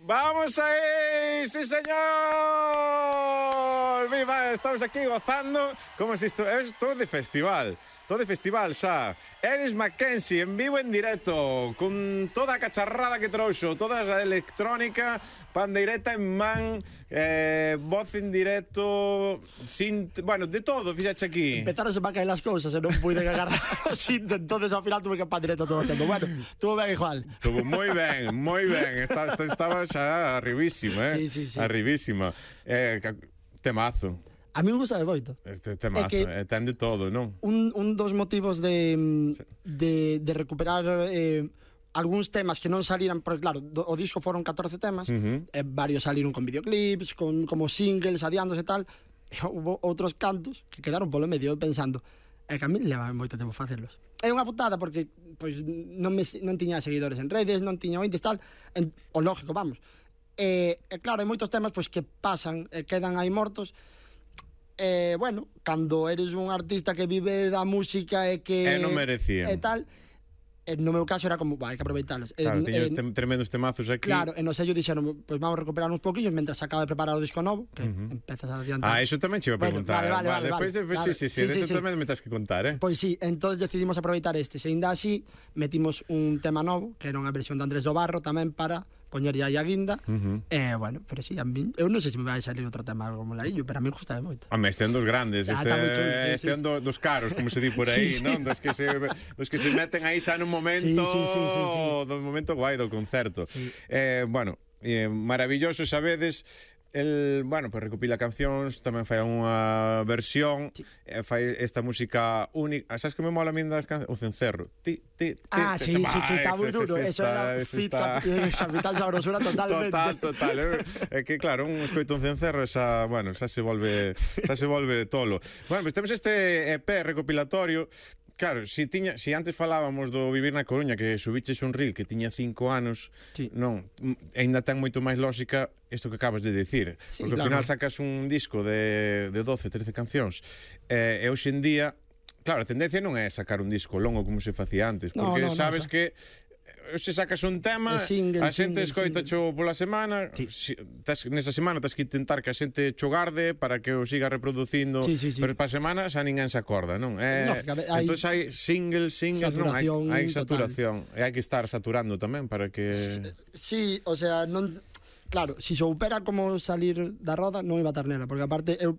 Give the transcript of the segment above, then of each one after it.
¡Vamos ahí! ¡Sí, señor! ¡Viva! Estamos aquí gozando como si esto es todo de festival. Todo de festival, xa. Eris Mackenzie, en vivo en directo, con toda a cacharrada que trouxo, toda a electrónica, pandeireta en man, voz en directo, bueno, de todo, fíxate aquí. Empezaron a caer las cousas e non pude agarrar o cinto, entonces ao final tuve que pandeireta todo o tempo. Bueno, estuvo ben igual. Estuvo moi ben, moi ben. Estaba xa arribísima, Sí. Arribísima. Temazo. A mí me gusta de moito. Este temazo, ten de todo, non? Un dos motivos de recuperar algúns temas que non saliran, porque claro, o disco foron 14 temas, varios saliron con videoclips, como singles, adiándose e tal, e houve outros cantos que quedaron polo medio pensando, que a mí leva moito tempo facerlos. É unha putada porque pois non tiña seguidores en redes, non tiña ointes tal, o lógico, vamos. E claro, hai moitos temas pois que pasan e quedan aí mortos. Bueno, cando eres un artista que vive da música e que non merecían e tal, no meu caso era como, hai que aproveitalos. Claro, tiño tremendos temazos aquí. Claro, e no sello dixeron, pois vamos a recuperar uns poquillos mentre se acaba de preparar o disco novo, que empezas a adiantar. Eso tamén che iba a preguntar. Vale. Despois, sí, eso tamén me tens que contar, Pois sí, entón decidimos aproveitar este. Se ainda así, metimos un tema novo, que era unha versión de Andrés do Barro tamén para poñer aí a guinda. Bueno, pero sí, a mí, eu non sei se me vai salir outro tema como Laillo, pero a mí gusta moito. Este é un dos grandes, este é un dos caros, como se di por aí, non? Dos que se meten aí xa nun momento, no momento guai do concerto. Bueno, maravilloso, sabedes. Bueno, pues recopila cancións, tamén fai unha versión, fai esta música única. Sabes que me mola a min das cancións? O cencerro. Sí, está moi duro. Eso era fit Capital Sabrosura totalmente. Total. É que claro, un escoito un cencerro, xa se volve tolo. Bueno, pues temos este EP recopilatorio. Claro, si antes falábamos do Vivir na Coruña, que subiches un reel que tiña 5 anos, non, ainda ten moito máis lógica isto que acabas de dicir, porque ao final sacas un disco de 12, 13 cancións, e hoxe en día, claro, a tendencia non é sacar un disco longo como se facía antes, porque sabes que se sacas un tema, a xente escoita cho pola semana, nesa semana tens que intentar que a xente cho garde para que o siga reproducindo, pero para a semana xa ninguén se acorda, non? Entón hai singles, non? Hai saturación, e hai que estar saturando tamén para que... Sí, o sea, non... Claro, se soupera como salir da roda non iba a estar nela, porque aparte eu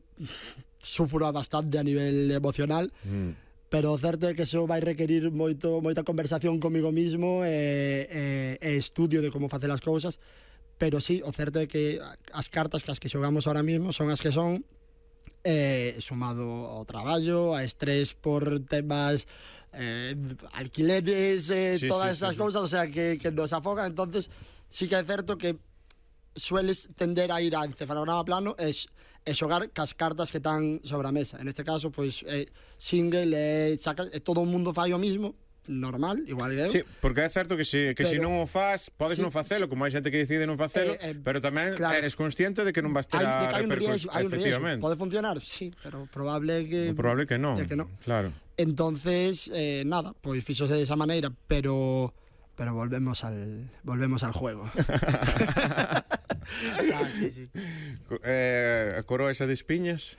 sufro bastante a nivel emocional, pero o certo é que iso vai requerir moita conversación comigo mismo e estudio de como facer as cousas, pero sí, o certo é que as cartas que xogamos ahora mismo son as que son, sumado ao traballo, a estrés por temas alquileres, todas esas cousas, o sea, que nos afogan. Entonces sí que é certo que sueles tender a ir a encefalograma plano e xogar cas cartas que están sobre a mesa. En este caso, pois, single, todo o mundo fai o mismo, normal, igual que eu. Sí, porque é certo que se non o faz, podes non facelo, como hai xente que decide non facelo, pero tamén eres consciente de que non vas ter a repercusión. Hai un riesgo, pode funcionar, sí, pero probable que non, claro. Entonces, nada, pois fixose de esa maneira, pero volvemos al juego. A coroa esa de espiñas?